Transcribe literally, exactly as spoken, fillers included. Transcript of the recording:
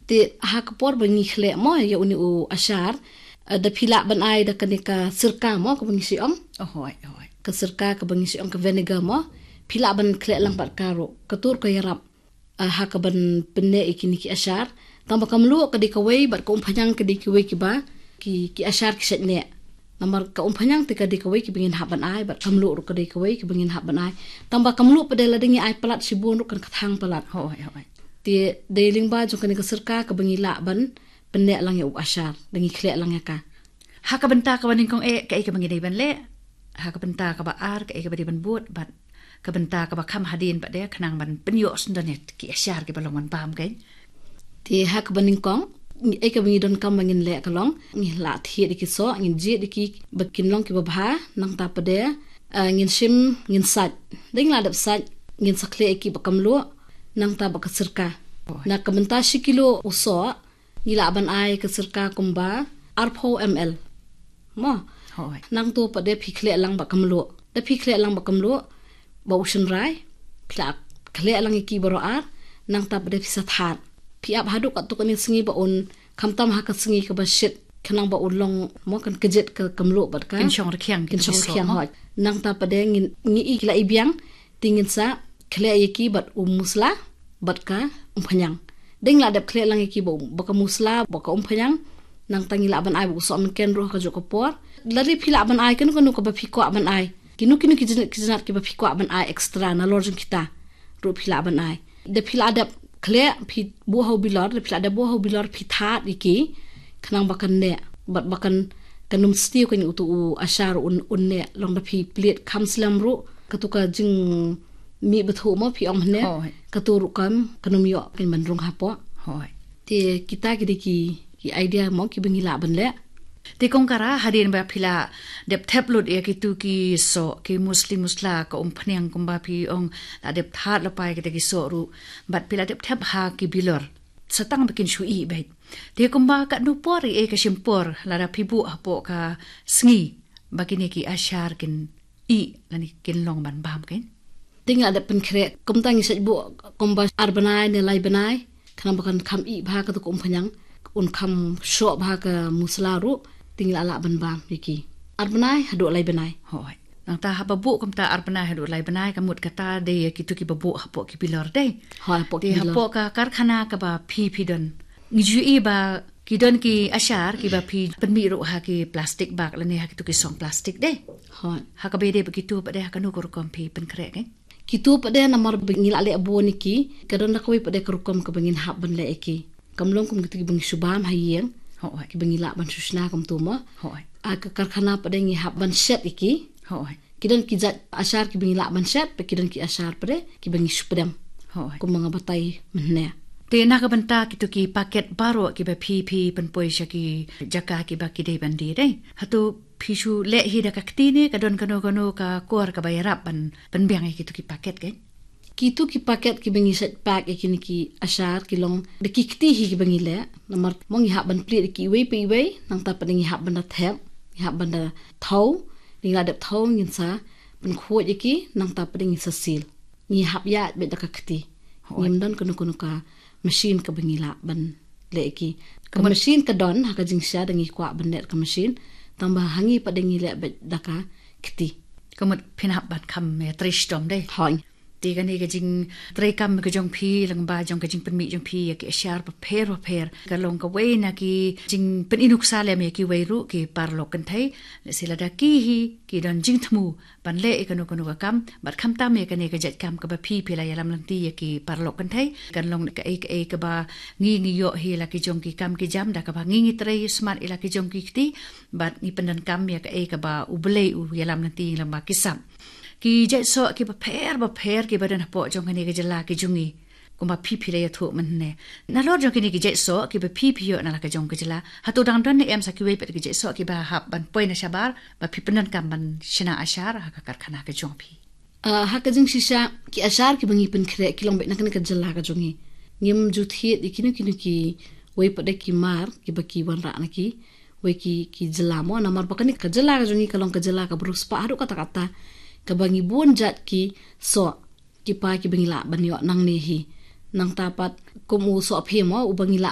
Te ha ka por ba ngi khleh mo ïa une u ashar, eh, da phi lah ban ai da kane ka sirka mo kaba ngi shu ong. Oh, hooid, hooid. Ka sirka kaba ngi shu ong ka vinegar mo. Phi lah ban khleh lang bad ka ruh. Ka tur ka ïarap, eh, ha kaban pynneh ïa kine ki ashar. Tang ba ka mluh ka dei kawei bad ka umphniang ka dei kiwei kiba ki, ki ashar ki shait neh. Namar ka umphniang te ka dei kawei kiba ngin hap ban ai bad ka mluh ruh ka dei kawei kiba ngin hap ban ai. Tang ba ka mluh pat de lada ngi ai palat shibun ruh kan kthang palat. Hooid, hooid. Te dei lyngba jong kane ka sirka kaba ngi lah ban pynneh lang ïa u ashar, da ngi khleh lang ïa ka. Ha ka bynta kaba nyngkong eh, kaei kaba ngi dei ban leh? Ha ka bynta kaba ar, kaei kaba dei ban bud? Bad ka bynta kaba kham hadien pat de, khnang ban pynïoh sngewdon ïa ki ashar kiba long ban bam kein. Te ha kaba nyngkong, ngi, eh, kaba ngi donkam ba ngin leh ka long, ngi lah thied ïa ki soh, ngin jied ïa ki ba kin long kiba bha, nangta pat de, eh, ngin shim, ngin sait. Da ngi lah dep sait, ngin sa khleh ïa ki bad ka mluh, nangta bad ka sirka. Oh. Na ka bynta shi kilo u soh, ngi lah ban ai ka sirka kumba arphew M L. Mo. Hooid. Nangta pat de phi khleh lang bad ka mluh. Da phi khleh lang bad ka mluh, bad u shynrai, phi lah khleh lang ïa ki baroh ar, nangta pat de phi sa thad. Phi ap haduh katto katne sngi ba un, khamtam ha ka sngi kaba shit, khnang ba un long, mo, kan kjit ka, ka mluh bad ka. Kin shong rkhiang, kin shong rkhiang, hooid. Nangta pat de ngin, ngi i ki la i biang, te ngin sa khleh ïa ki bad u musla, bad ka umphniang. Da ngi lah dep khleh lang ïa ki bad, bad ka musla, bad ka umphniang, nangta ngi lah ban ai bad u sohmynken ruh ha kajuh ka por. Lada phi lah ban ai kano kano kaba phi kwah ban ai. Kino kino ki jynjar, ki jynjar kiba phi kwah ban ai extra nalor jong kita ruh phi lah ban ai. Da phi lah dep khleh, phi buh ha u bilor, da phi lah dep buh ha u bilor phi thad ïa ki, khnang ba kan neh, bad ba kan, kan ym sniew kein uto u ashar un, un neh, long da phi plied kham slem ruh, kato ka jingmih bthuh mo phi ong mynne, hooid, kato ruh kam, kan ym ïoh kein ban rung hapoh. Hooid. Te kita ki dei ki, ki idea mo kiba ngi lah ban leh. Te Kong Kara, hadien ba phi la dep thep lut ïa kito ki soh, ki musli musla, ka umphniang kumba phi ong, la dep thad lypa ïa kita ki soh ruh, bad phi la dep thep ha ki bilor. Sa tang ba kin shu ih beit. Te kumba katno por ïa ka shim por lada phi buh hapoh ka sngi ba kine ki ashar kin ih lane kin long ban bam kein? Te ngi la dep pynkhreh, kumta ngi shait buh kumba ar bnai ne lai bnai, khnang ba kan kham ih bha kato ka umphniang, un kham shoh bha ka musla ruh, te ngi la lah ban bam ïa ki. Ar bnai haduh lai bnai. Hooid. Nangta haba buh kumta ar bnai haduh lai bnai, ka mut kata dei ïa kito kiba buh hapoh ki bilor dei. Hooid, hapoh ki bilor. Te hapoh ka karkhana kaba phi phi don, ngi ju ïohi ba ki don ki ashar kiba phi pynmih ruh ha ki plastik bag lane ha kito ki song plastik dei. Hooid. Ha kaba ïadei bad kito pat de ha kano ka rukom phi pynkhreh kein? Kito pat de namar ba ngi la leh bun ïa ki, ka don da kawei pat de ka rukom kaba ngin hap ban leh ïa ki. Kam long kum kito kiba ngi shu bam ha ïing. Hooid. Kiba ngi lah ban shu shna kumto mo. Hooid. Ha ka karkhana pat de ngi hap ban shet ïa ki. Hooid. Ki don ki jait ashar kiba ngi lah ban shet, bad ki don ki ashar pat de kiba ngi shu pdem. Hooid. Kumba nga batai mynne. Te na ka bynta kito ki paket baroh kiba phi phi pynpoi sha ki jaka kiba ki dei ban die dei, hato phi shu leh hi da ka kti ne ka don kano kano ka kor kaba ïarap ban pynbiang ïa kito ki paket kein? Kito ki paket kiba ngi shait pack ïa kine ki ashar ki long da ki kti hi kiba ngi leh. Namar mo ngi hap ban plied ïa ki iwei pa iwei, nangta pat de ngi hap ban da thep, ngi hap ban da thaw, ngi la dep thaw ngin sa pynkhuid ïa ki, nangta pat de ngin sa seal. Ngi hap ïaid beit da ka kti. Hooid. Ngim don kano kano ka machine kaba ngi lah ban leh ïa ki. Ka machine ka don ha ka jingshisha, da ngi kwah ban leh ka machine. Tangba ha ngi pat de ngi leh beit da ka kti. Ka mut phin hap ban kham ïatrei shitom dei. Hooid. Te kane ka jingtrei kam ka jong phi lyngba jong ka jingpynmih jong phi ïa ki ashar bapher bapher ka long kawei na ki jingpynïoh nuksa lem ïa kiwei ruh ki paralok kynthei. Lehse lada ki hi ki don jingthmu ban leh ïa kano kano ka kam, bad khamtam ïa kane ka jait kam kaba phi phi la ïalam lynti ïa ki paralok kynthei, kan long kaei kaei kaba ngi ngi ïoh hi la ki jong ki kam ki jam, da kaba ngi ngi trei smat ïa la ki jong ki kti, bad ngi pyndonkam ïa kaei kaba U Blei u ïalam lynti lyngba ki sap. Ki jait soh kiba pher bapher kiba don hapoh jong kane ka jylla ka jong ngi, kumba phi phi la ïathuh mynne, nalor jong kine ki jait soh kiba phi phi ïoh na la ka jong ka jylla, hato dang don ne em sa kiwei pat ki jait soh kiba hap ban poi na shabar ba phi pyndonkam ban shna ashar ha ka karkhana ka jong phi? Ah, ha ka jingshisha ki ashar kiba ngi pynkhreh ki long beit na kane ka jylla ka jong ngi. Ngim ju thied ïa kino kino kiwei pat de ki mar kiba ki wanrah na kiwei ki, ki jylla mo, namar ba kane ka jylla ka jong ngi ka long ka jylla kaba riewspah haduh katta katta, kaba ngi bun jait ki soh ki pa kiba ngi lah ban ïoh nangne hi. Nangta pat kum u sohphim mo, uba ngi lah